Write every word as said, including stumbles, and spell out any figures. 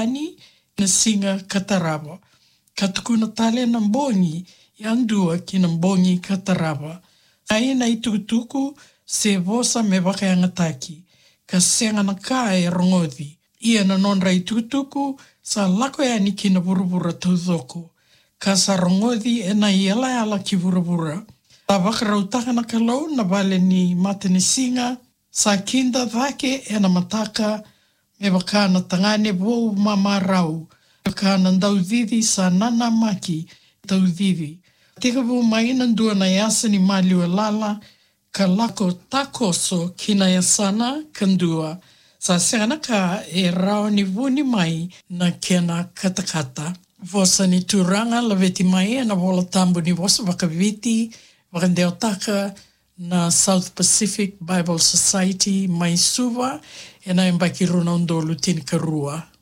yani na siga ka tarava, ka tukuna tale na bogi yadua ki na bogi ka tarava. Sa i na itukutuku se vosa me vakayagataki, ka sega na ka e rogoci. Ia na nodra itukutuku sa lako yani ki na vuravura taucoko, ka sa rogoci e na iyalayala ki vuravura. Sa vakarautaka na Kalou na vale ni matanisiga, sa kida cake e na mataka, me vaka na tagane vou mamarau, me vaka na daucici sa nanamaki taucici. Tekivu mai na dua na yasa ni maliwa lala, ka lako takoso ki na yasana ka dua. Sa sega na ka e rawa ni vuni mai na kena katakata. Vosa ni Turaga laveti mai e na Vola Tabu ni vosa vakaviti, vakadewataka na South Pacific Bible Society mai Suva, e na yabaki rua na udolu tinikarua.